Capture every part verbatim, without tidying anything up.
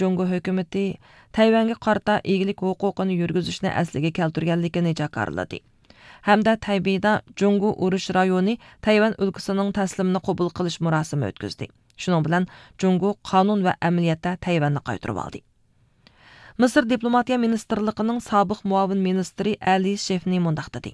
جۇڭگو ھۆكۈمىتى تەيۋەنگە قارىتا ئىگىلىك ھوقۇقىنى يۈرگۈزۈشنى ئەسلىگە كەلتۈرگەنلىكىنى جاكارلىدى ھەمدە تەيبېيدا جۇڭگو ئۇرۇش رايونى تەيۋەن ئۆلكىسىنىڭ تەسلىمىنى قوبۇل قىلىش مۇراسىمى ئۆتكۈزدى. شۇنىڭ بىلەن جۇڭگو قانۇن ۋە ئەمەلىيەتتە تەيۋەننى قايتۇرۇۋالدى. مىسىر دىپلوماتىيە مىنىستىرلىقىنىڭ سابىق مۇئاۋىن مىنىستىرى ئەلى شېفنى مۇنداق دېدى: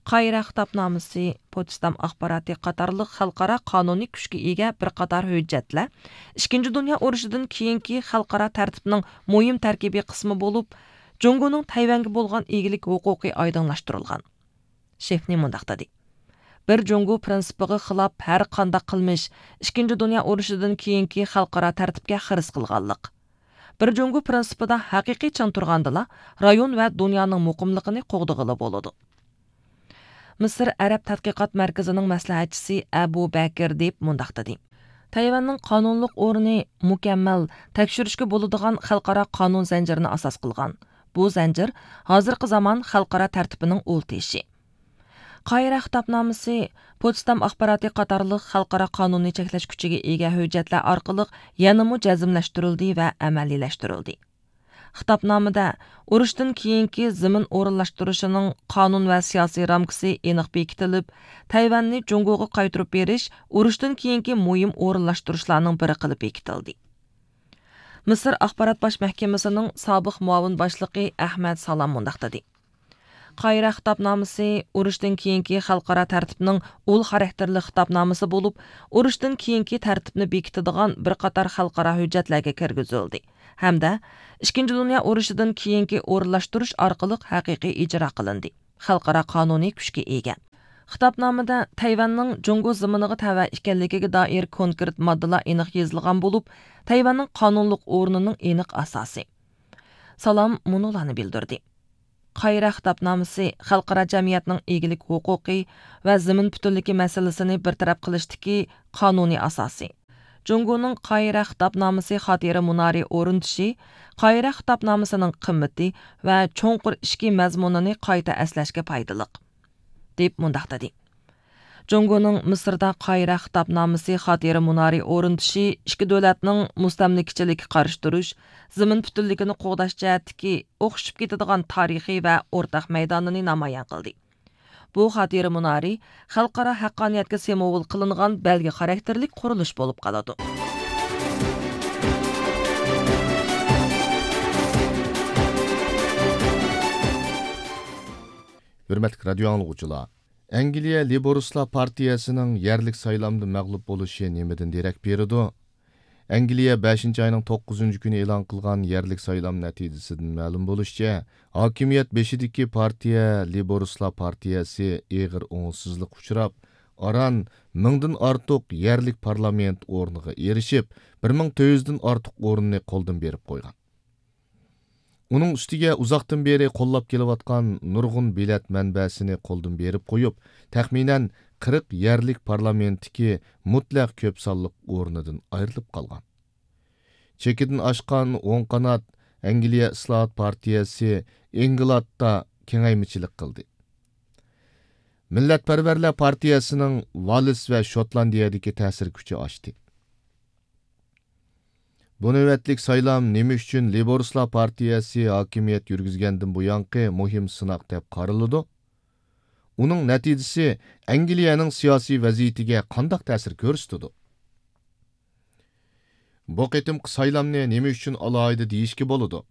قاھىرە خىتابنامىسى، پوتسدام ئاخباراتى قاتارلىق خەلقئارا قانۇنىي كۈچكە ئىگە بىر قاتار ھۆججەتلەر ئىككىنچى دۇنيا ئۇرۇشىدىن كېيىنكى خەلقئارا تەرتىپنىڭ مۇھىم تەركىبىي قىسمى بولۇپ، جۇڭگونىڭ تەيۋەنگە بولغان ئىگىلىك ھوقۇقى ئايدىڭلاشتۇرۇلغان. شېفنى مۇنداق دېدى: بىر جۇڭگو پىرىنسىپىغا خىلاپ ھەر قانداق قىلمىش ئىككىنچى دۇنيا ئۇرۇشىدىن كېيىنكى خەلقئارا تەرتىپكە خىرىس قىلغانلىق. بىر جۇڭگو پىرىنسىپىدا ھەقىقىي چىڭ تۇرغاندىلا، رايون ۋە دۇنيانىڭ مۇقىملىقىنى قوغدىغىلى بولىدۇ. مىسىر ئەرەب تەتقىقات مەركىزىنىڭ مەسلىھەتچىسى ئەبۇ بەكىر دېيىپ مۇنداق دېدى: تەيۋەننىڭ قانۇنلۇق ئورنى مۇكەممەل، تەكشۈرۈشكە بولىدىغان خەلقئارا قانۇن زەنجىرىنى ئاساس قىلغان. بۇ زەنجىر ھازىرقى زامان خەلقئارا تەرتىپىنىڭ ئۇل تېشى. قاھىرە خىتابنامىسى، پوتسدام ئاخباراتى قاتارلىق خەلقئارا قانۇننى چەكلەش كۈچىگە ئىگە ھۆججەتلەر ئارقىلىق يەنىمۇ جەزملەشتۈرۈلدى ۋە ئەمەلىيلەشتۈرۈلدى. خىتابنامىدە ئۇرۇشتىن كېيىنكى زېمىن ئورۇنلاشتۇرۇشىنىڭ قانۇن ۋە سىياسىي رامكىسى ئېنىق بېكىتىلىپ، تەيۋەننى جۇڭگوغا قايتۇرۇپ بېرىش ئۇرۇشتىن كېيىنكى مۇھىم ئورۇنلاشتۇرۇشلارنىڭ بىرى قىلىپ بېكىتىلدى. مىسىر ئاخبارات باش مەھكىمىسىنىڭ سابىق مۇئاۋىن باشلىقى ئەھمەد سالام مۇنداق دېدى: قاھىرە خىتابنامىسى ئۇرۇشتىن كېيىنكى خەلقئارا تەرتىپنىڭ ئۇل خاراكتېرلىك خىتابنامىسى بولۇپ، ئۇرۇشتىن كېيىنكى تەرتىپنى بېكىتىدىغان بىر قاتار خەلقئارا ھۆججەتلەرگە كىرگۈزۈلدى ھەمدە ئىككىنچى دۇنيا ئۇرۇشىدىن كېيىنكى ئورۇنلاشتۇرۇش ئارقىلىق ھەقىقىي ئىجرا قىلىندى. خەلقئارا قانۇنىي كۈچكە ئىگە. خىتابنامىدە تەيۋەننىڭ جۇڭگو زېمىنىغا تەۋە ئىكەنلىكىگە دائىر كونكرېت ماددىلار ئېنىق يېزىلغان بولۇپ، تەيۋەننىڭ قانۇنلۇق ئورنىنىڭ ئېنىق ئاساسى. سالام مۇنۇلارنى بىلدۈردى: قاھىرە خىتابنامىسى خەلقئارا جەمئىيەتنىڭ ئىگىلىك ھوقۇقى ۋە زېمىن پۈتۈنلۈكى مەسىلىسىنى بىر تەرەپ قىلىشتىكى قانۇنىي ئاساسى. جۇڭگونىڭ قاھىرە خىتابنامىسى خاتىرە مۇنارى ئورنىتىشى قاھىرە خىتابنامىسىنىڭ قىممىتى ۋە چوڭقۇر ئىچكى مەزمۇنىنى قايتا ئەسلەشكە پايدىلىق، دەپ مۇنداق دېدى: جۇڭگونىڭ مىسىردا قاھىرە خىتابنامىسى خاتىرە مۇنارى ئورنىتىشى ئىككى دۆلەتنىڭ مۇستەملىكىچىلىككە قارشى تۇرۇش، زېمىن پۈتۈنلۈكىنى قوغداش جەھەتتىكى ئوخشىشىپ كېتىدىغان تارىخىي ۋە ئورتاق مەيدانىنى نامايان قىلدى. بۇ خاتىرە مۇنارى خەلقئارا ھەققانىيەتكە سىمۋول قىلىنغان بەلگە خاراكتېرلىك قۇرۇلۇش بولۇپ قالىدۇ. ھۆرمەتلىك رادىيو ئاڭلىغۇچىلار، ئەنگلىيە لېيبورىستلار پارتىيەسىنىڭ يەرلىك سايلامدا مەغلۇپ بولۇشى نېمىدىن دېرەك بېرىدۇ؟ ئەنگلىيە بەشىنچى ئاينىڭ توققۇزىنچى كۈنى ئېلان قىلغان يەرلىك سايلام نەتىجىسىدىن مەلۇم بولۇشىچە، ھاكىمىيەت بېشىدىكى پارتىيە لېيبورىستلار پارتىيەسى ئېغىر ئوڭۇشسىزلىققا ئۇچراپ، ئاران مىڭدىن ئارتۇق يەرلىك پارلامېنت ئورنىغا ئېرىشىپ، بىر مىڭ تۆت يۈزدىن ئارتۇق ئورۇننى قولدىن بېرىپ قويغان. ئۇنىڭ ئۈستىگە ئۇزاقتىن بېرى قوللاپ كېلىۋاتقان نۇرغۇن بېلەت مەنبەسىنى قولدىن بېرىپ قويۇپ، تەخمىنەن قىرىق يەرلىك پارلامېنتتىكى مۇتلەق كۆپ سانلىق ئورنىدىن ئايرىلىپ قالغان. چېكىدىن ئاشقان ئوڭ قانات ئەنگلىيە ئىسلاھات پارتىيەسى ئىنگلاتتا كېڭەيمىچىلىك قىلدى. مىللەتپەرۋەرلەر پارتىيەسىنىڭ ۋالىس ۋە شوتلاندىيەدىكى تەسىر كۈچى ئاشتى. بۇ نۆۋەتلىك سايلام نېمە ئۈچۈن لېيبورىستلار پارتىيەسى ھاكىمىيەت يۈرگۈزگەندىن بۇيانقى مۇھىم سىناق دەپ قارىلىدۇ؟ ئۇنىڭ نەتىجىسى ئەنگلىيەنىڭ سىياسىي ۋەزىيىتىگە قانداق تەسىر كۆرسىتىدۇ؟ بۇ قېتىمقى سايلامنى نېمە ئۈچۈن ئالاھىدە دېيىشكە بولىدۇ؟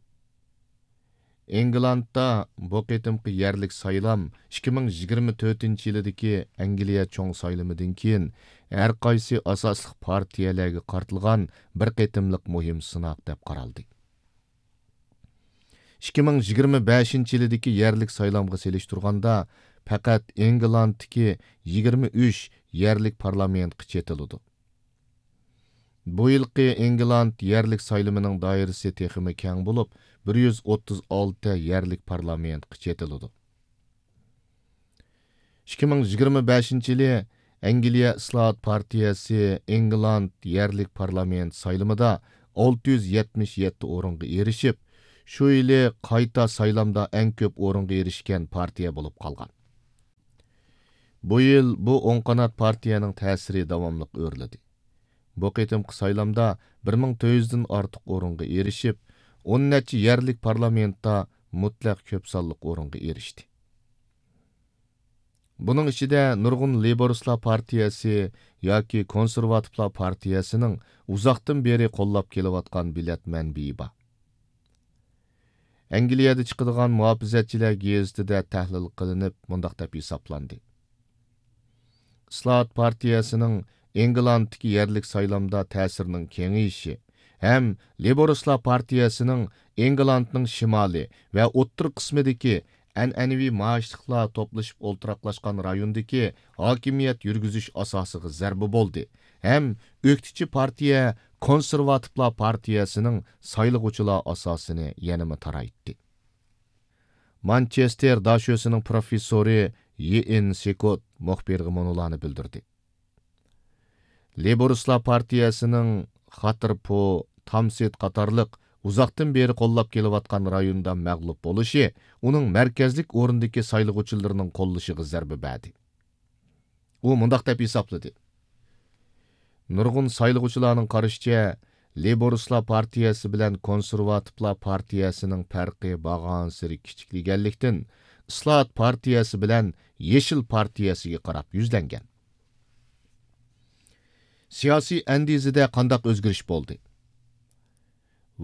ئىنگلاندتا بۇ قېتىمقى يەرلىك سايلام ئىككى مىڭ يىگىرمە تۆتىنچى يىلىدىكى ئەنگلىيە چوڭ سايلىمىدىن كېيىن ھەر قايسى ئاساسلىق پارتىيەلەرگە قارىتىلغان بىر قېتىملىق مۇھىم سىناق دەپ قارالدى. ئىككى مىڭ يىگىرمە بەشىنچى يىلىدىكى يەرلىك سايلامغا سېلىشتۇرغاندا، پەقەت ئىنگلاندتىكى يىگىرمە ئۈچ يەرلىك پارلامېنتقا چېتىلىدۇ. بۇ يىلقى ئىنگلاند يەرلىك سايلىمىنىڭ دائىرىسى تېخىمۇ كەڭ بولۇپ، بىر يۈز ئوتتۇز ئالتە يەرلىك پارلامېنتقا چېتىلىدۇ. ئىككى مىڭ يىگىرمە بەشىنچى يىلى ئەنگلىيە ئىسلاھات پارتىيەسى ئىنگلاند يەرلىك پارلامېنت سايلىمىدا ئالتە يۈز يەتمىش يەتتە ئورۇنغا ئېرىشىپ، شۇ يىلى قايتا سايلامدا ئەڭ كۆپ ئورۇنغا ئېرىشكەن پارتىيە بولۇپ قالغان. بۇ يىل بۇ ئوڭ قانات پارتىيەنىڭ تەسىرى داۋاملىق ئۆرلىدى. بۇ قېتىمقى سايلامدا بىر مىڭ تۆت يۈزدىن ئارتۇق ئورۇنغا ئېرىشىپ، ئون نەچچە يەرلىك پارلامېنتتا مۇتلەق كۆپ سانلىق ئورۇنغا ئېرىشتى. بۇنىڭ ئىچىدە نۇرغۇن لېيبورىستلار پارتىيەسى ياكى كونسېرۋاتىپلار پارتىيەسىنىڭ ئۇزاقتىن بېرى قوللاپ كېلىۋاتقان بېلەت مەنبىيى بار. ئەنگلىيەدە چىقىدىغان مۇھاپىزەتچىلەر گېزىتىدە تەھلىل قىلىنىپ، مۇنداق دەپ ھېسابلاندى: ئىسلاھات پارتىيەسىنىڭ ئېنگلاندتىكى يەرلىك سايلامدا تەسىرىنىڭ كېڭىيىشى ھەم لېيبورىستلار پارتىيەسىنىڭ ئېنگلاندنىڭ شىمالى ۋە ئوتتۇرا قىسمىدىكى ئەنئەنىۋى مائاشلىقلار توپلىشىپ ئولتۇراقلاشقان رايوندىكى ھاكىمىيەت يۈرگۈزۈش ئاساسىغا زەربە بولدى ھەم ئۆكتىچى پارتىيە كونسېرۋاتىپلار پارتىيەسىنىڭ سايلىغۇچىلار ئاساسىنى يەنىمۇ تارايتتى. مانچېستېر داشۆسىنىڭ پروفېسسورى يېئېن سېكوت مۇخبىرغا مۇنۇلارنى بىلدۈردى: لېيبورىستلار پارتىيەسىنىڭ خاتىرپو، تامسىت قاتارلىق ئۇزاقتىن بېرى قوللاپ كېلىۋاتقان رايوندا مەغلۇپ بولۇشى ئۇنىڭ مەركەزلىك ئورۇندىكى سايلىغۇچىلىرىنىڭ قوللىشىغا زەربە بەردى. ئۇ مۇنداق دەپ ھېسابلىدى: نۇرغۇن سايلىغۇچىلارنىڭ قارىشىچە، لېيبورىستلار پارتىيەسى بىلەن كونسېرۋاتىپلار پارتىيەسىنىڭ پەرقى بارغانسېرى كىچىكلىگەنلىكتىن، ئىسلاھات پارتىيەسى بىلەن يېشىل پارتىيەسىگە قاراپ يۈزلەنگەن. سىياسىي ئەندىزىدە قانداق ئۆزگىرىش بولدى؟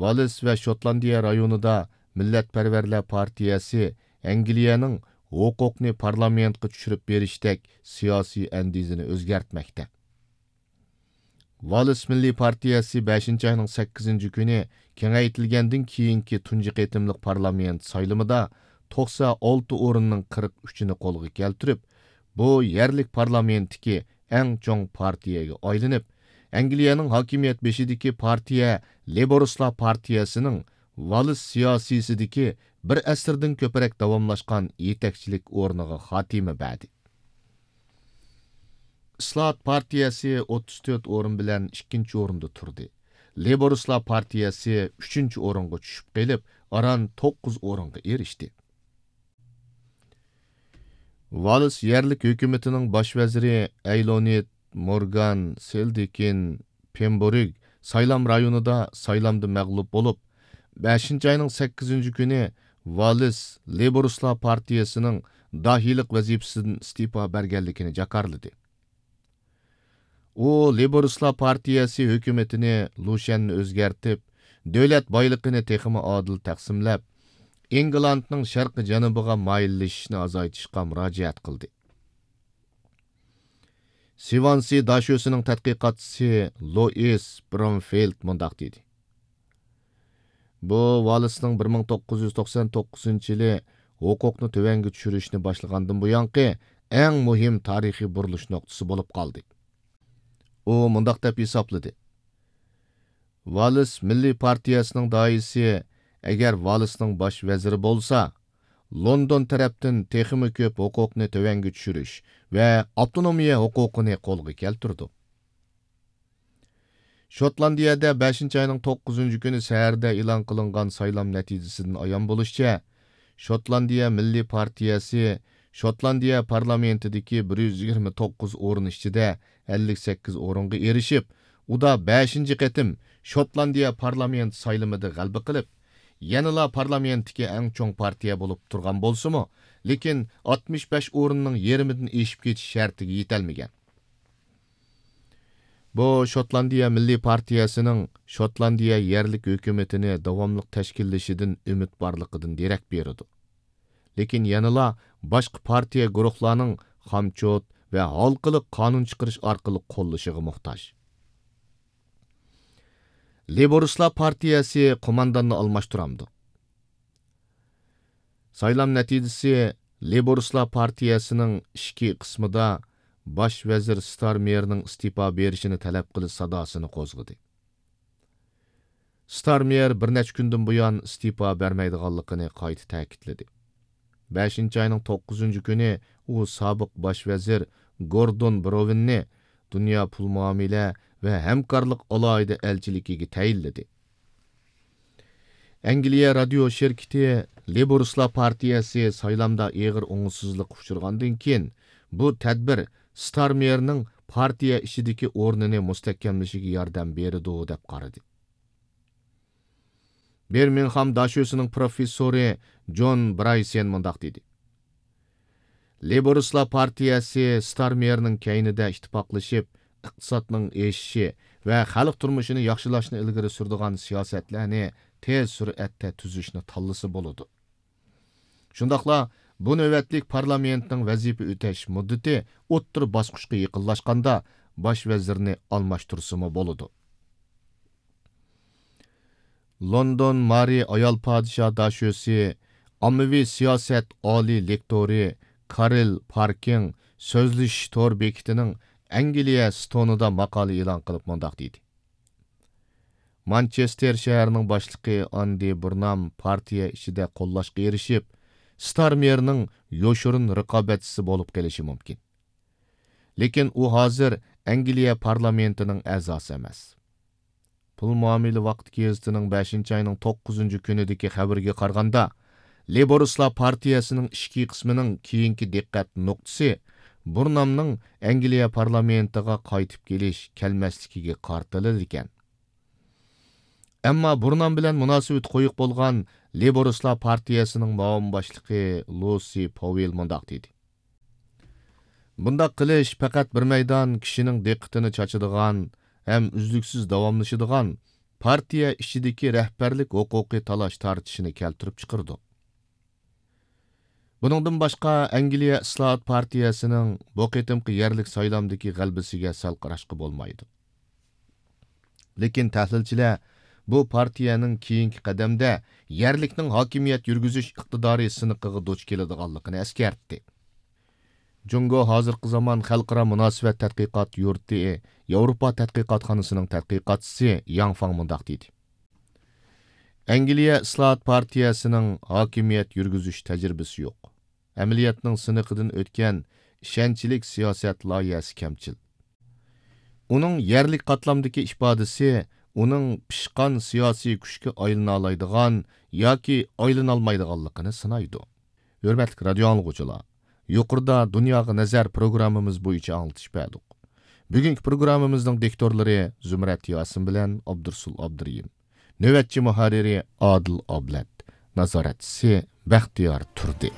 ۋالىس ۋە شوتلاندىيە رايونىدا مىللەتپەرۋەرلەر پارتىيەسى ئەنگلىيەنىڭ ھوقۇقنى پارلامېنتقا چۈشۈرۈپ بېرىشتەك سىياسىي ئەندىزىنى ئۆزگەرتمەكتە. ۋالىس مىللىي پارتىيەسى بەشىنچى ئاينىڭ سەككىزىنچى كۈنى كېڭەيتىلگەندىن كېيىنكى تۇنجى قېتىملىق پارلامېنت سايلىمىدا توقسان ئالتە ئورۇننىڭ قىرىق ئۈچىنى قولغا كەلتۈرۈپ، بۇ يەرلىك پارلامېنتتىكى ئەڭ چوڭ پارتىيەگە ئايلىنىپ، ئەنگلىيەنىڭ ھاكىمىيەت بېشىدىكى پارتىيە لېيبورىستلار پارتىيەسىنىڭ ۋالىس سىياسىيسىدىكى بىر ئەسىردىن كۆپرەك داۋاملاشقان يېتەكچىلىك ئورنىغا خاتىمە بەردى. ئىسلاھات پارتىيەسى ئوتتۇز تۆت ئورۇن بىلەن ئىككىنچى ئورۇندا تۇردى. لېيبورىستلار پارتىيەسى ئۈچىنچى ئورۇنغا چۈشۈپ قېلىپ، ئاران توققۇز ئورۇنغا ئېرىشتى. ۋالىس يەرلىك ھۆكۈمىتىنىڭ باش ۋەزىرى ئەيلونىت مورگان سېلدىكىن پېمبورگ سايلام رايونىدا سايلامدا مەغلۇپ بولۇپ، بەشىنچى ئاينىڭ سەككىزىنچى كۈنى ۋالىس لېيبورىستلار پارتىيەسىنىڭ داھىيلىق ۋەزىپىسىدىن ئىستېپا بەرگەنلىكىنى جاكارلىدى. ئۇ لېيبورىستلار پارتىيەسى ھۆكۈمىتىنى لۇشيەننى ئۆزگەرتىپ، دۆلەت بايلىقىنى تېخىمۇ ئادىل تەقسىملەپ، ئىنگلاندنىڭ شەرقىي جەنۇبىغا مايىللىشىشنى ئازايتىشقا مۇراجىئەت قىلدى. سىۋانسى داشۆسىنىڭ تەتقىقاتچىسى لوئىس برونفېلد مۇنداق دېدى: بۇ ۋالىسنىڭ بىر مىڭ توققۇز يۈز توقسان توققۇزىنچى يىلى ھوقۇقنى تۆۋەنگە چۈشۈرۈشنى باشلىغاندىن بۇيانقى ئەڭ مۇھىم تارىخىي بۇرۇلۇش نۇقتىسى بولۇپ قالدى. ئۇ مۇنداق دەپ ھېسابلىدى: ۋالىس مىللىي پارتىيەسىنىڭ داھىيسى ئەگەر ۋالىسنىڭ باش ۋەزىرى بولسا، لوندون تەرەپتىن تېخىمۇ كۆپ ھوقۇقنى تۆۋەنگە چۈشۈرۈش ۋە ئاپتونومىيە ھوقۇقىنى قولغا كەلتۈرىدۇ. شوتلاندىيەدە بەشىنچى ئاينىڭ توققۇزىنچى كۈنى سەھەردە ئېلان قىلىنغان سايلام نەتىجىسىدىن ئايان بولۇشىچە، شوتلاندىيە مىللىي پارتىيەسى شوتلاندىيە پارلامېنتىدىكى بىر يۈز يىگىرمە توققۇز ئورۇن ئىچىدە ئەللىك سەككىز ئورۇنغا ئېرىشىپ، ئۇدا بەشىنچى قېتىم شوتلاندىيە پارلامېنت سايلىمىدا غەلىبە قىلىپ، يەنىلا پارلامېنتتىكى ئەڭ چوڭ پارتىيە بولۇپ تۇرغان بولسىمۇ، لېكىن ئاتمىش بەش ئورۇننىڭ يېرىمىدىن ئېشىپ كېتىش شەرتىگە يېتەلمىگەن. بۇ شوتلاندىيە مىللىي پارتىيەسىنىڭ شوتلاندىيە يەرلىك ھۆكۈمىتىنى داۋاملىق تەشكىللىشىدىن ئۈمىد بارلىقىدىن دېرەك بېرىدۇ. لېكىن يەنىلا باشقا پارتىيە گۇرۇھلارنىڭ خامچوت ۋە ھالقىلىق قانۇن چىقىرىش ئارقىلىق قوللىشىغا موھتاج. لېيبورىستلار پارتىيەسى قومانداننى ئالماشتۇرامدۇ؟ سايلام نەتىجىسى لېيبورىستلار پارتىيەسىنىڭ ئىچكى قىسمىدا باش ۋەزىر ستارمېرنىڭ ئىستېپا بېرىشىنى تەلەپ قىلىش ساداسىنى قوزغىدى. ستارمېر بىر نەچچە كۈندىن بۇيان ئىستېپا بەرمەيدىغانلىقىنى قايتا تەكىتلىدى. بەشىنچى ئاينىڭ توققۇزىنچى كۈنى ئۇ سابىق باش ۋەزىر گوردون بروۋىننى دۇنيا پۇل مۇئامىلە ۋە ھەمكارلىق ئالاھىدە ئەلچىلىكىگە تەيىنلىدى. ئەنگلىيە رادىيو شىركىتى لېيبورىستلار پارتىيەسى سايلامدا ئېغىر ئوڭۇشسىزلىققا ئۇچرىغاندىن كېيىن، بۇ تەدبىر ستارمېرنىڭ پارتىيە ئىچىدىكى ئورنىنى مۇستەھكەملىشىگە ياردەم بېرىدۇ، دەپ قارىدى. بىرمىنغھام داشۆسىنىڭ پروفېسسورى جون برايسېن مۇنداق دېدى: لېيبورىستلار پارتىيەسى ستارمېرنىڭ كەينىدە ئىتتىپاقلىشىپ، ئىقتىسادنىڭ ئېشىشى ۋە خەلق تۇرمۇشىنى ياخشىلاشنى ئىلگىرى سۈرىدىغان سىياسەتلەرنى تېز سۈرئەتتە تۈزۈشنى تاللىسا بولىدۇ. شۇنداقلا بۇ نۆۋەتلىك پارلامېنتنىڭ ۋەزىپە ئۆتەش مۇددىتى ئوتتۇرا باسقۇچقا يېقىنلاشقاندا باش ۋەزىرنى ئالماشتۇرسىمۇ بولىدۇ. لوندون مارى ئايال پادىشاھ داشۆسى، ئاممىۋى سىياسەت ئالىي لېكتورى كارل پاركىڭ سۆزلىشىش تور بېكىتىنىڭ ئەنگلىيە ستونىدا ماقالە ئېلان قىلىپ مۇنداق دېدى: مانچېستېر شەھىرىنىڭ باشلىقى ئاندى بۇرنام پارتىيە ئىچىدە قوللاشقا ئېرىشىپ، ستارمېرنىڭ يوشۇرۇن رىقابەتچىسى بولۇپ قېلىشى مۇمكىن. لېكىن ئۇ ھازىر ئەنگلىيە پارلامېنتىنىڭ ئەزاسى ئەمەس. پۇل مۇئامىلە ۋاقتى گېزىتىنىڭ بەشىنچى ئاينىڭ توققۇزىنچى كۈنىدىكى خەۋىرىگە قارىغاندا، لېيبورىستلار پارتىيەسىنىڭ ئىچكى قىسمىنىڭ كېيىنكى دىققەت نۇقتىسى بۇرنامنىڭ ئەنگلىيە پارلامېنتىغا قايتىپ كېلىش، كەلمەسلىكىگە قارىتىلىدىكەن. ئەمما بۇرنام بىلەن مۇناسىۋىتى قويۇق بولغان لېيبورىستلار پارتىيەسىنىڭ مۇئاۋىن باشلىقى لۇسى پوۋېل مۇنداق دېدى: بۇنداق قىلىش پەقەت بىر مەيدان كىشىنىڭ دىققىتىنى چاچىدىغان ھەم ئۈزلۈكسىز داۋاملىشىدىغان پارتىيە ئىچىدىكى رەھبەرلىك ھوقۇقى تالاش-تارتىشىنى كەلتۈرۈپ چىقىرىدۇ. بۇنىڭدىن باشقا، ئەنگلىيە ئىسلاھات پارتىيەسىنىڭ بۇ قېتىمقى يەرلىك سايلامدىكى غەلىبىسىگە سەل قاراشقا بولمايدۇ. لېكىن تەھلىلچىلەر بۇ پارتىيەنىڭ كېيىنكى قەدەمدە يەرلىكنىڭ ھاكىمىيەت يۈرگۈزۈش ئىقتىدارى سىنىقىغا دۇچ كېلىدىغانلىقىنى ئەسكەرتتى. جۇڭگو ھازىرقى زامان خەلقئارا مۇناسىۋەت تەتقىقات يۇرتى ياۋروپا تەتقىقاتخانىسىنىڭ تەتقىقاتچىسى ياڭ فاڭ مۇنداق دېدى: ئەنگلىيە ئىسلاھات پارتىيەسىنىڭ ھاكىمىيەت يۈرگۈزۈش تەجرىبىسى يوق. ئەمەلىيەتنىڭ سىنىقىدىن ئۆتكەن ئىشەنچلىك سىياسەت لايىھەسى كەمچىل. ئۇنىڭ يەرلىك قاتلامدىكى ئىپادىسى ئۇنىڭ پىشقان سىياسىي كۈچكە ئايلىنالايدىغان ياكى ئايلىنالمايدىغانلىقىنى سىنايدۇ. ھۆرمەتلىك رادىيو ئاڭلىغۇچىلار، يۇقىرىدا دۇنياغا نەزەر پروگراممىمىز بويىچە ئاڭلىتىش بەردۇق. بۈگۈنكى پروگراممىمىزنىڭ دىكتورلىرى زۇمرەت ياسىن بىلەن ئابدۇرسۇل ئابدۇرېھىم. نۆۋەتچى مۇھەررىرى ئادىل ئابلەت. نازارەتچىسى بەختىيار تۇردى.